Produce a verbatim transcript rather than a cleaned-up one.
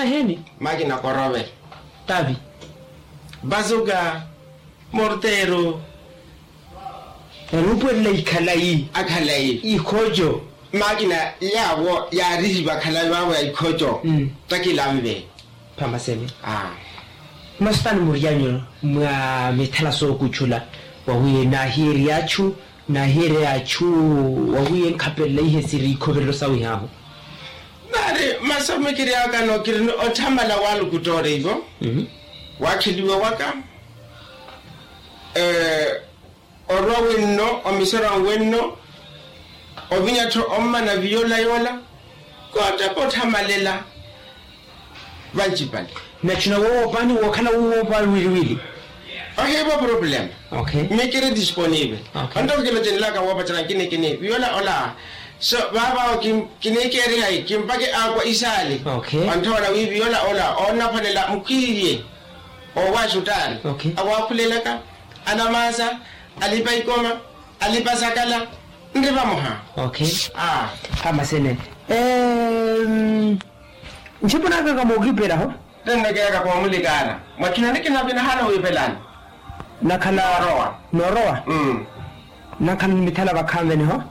Eheeni. Makina korove. Tavi. Bazuka. Morteru. Eruupuwelela ikhalayi. Akhalayi. Ikhoco. Makina yaawo yaarihiwa akhalayi vaawo ya ikhoco. Takilanve. Phamasene. Masutani muryanyu mwa mithala sookutchula wawi naahiyeerya achu naahiyeerya achu wawi enkhapelela ihe siri ikhoverelo sawihahu. Nari masomekeryakano kiri ni otthamala walukuttoorivo. Wakheliwa waka orwa wenno omisora wenno ovinya-tho ommana viyola yola koottapa otthamalela. Vancipale. Nachu nawoowoopani wookhala wuwoopa wiliwili. Ohiivo problema. Mikiri disponive. Onto kilocenelaka woopacerya nkinikini viyola ola so vaavawo kiniikeerihayi kimpake aakwa isaali. Onthoona wi viyola ola oonnaphwanela mukhwiiye oowaaxutaari awaakhulelaka anamaasa alipa ikoma alipa sakala nri vamoha. Amasene. Nchipo nakaka mookipelaho. Tennekeryaka koomulikaana mwakhinani kinavinahana wiipelani. Nakhala noorowa. Nakhala ni mithala vakhanveniho.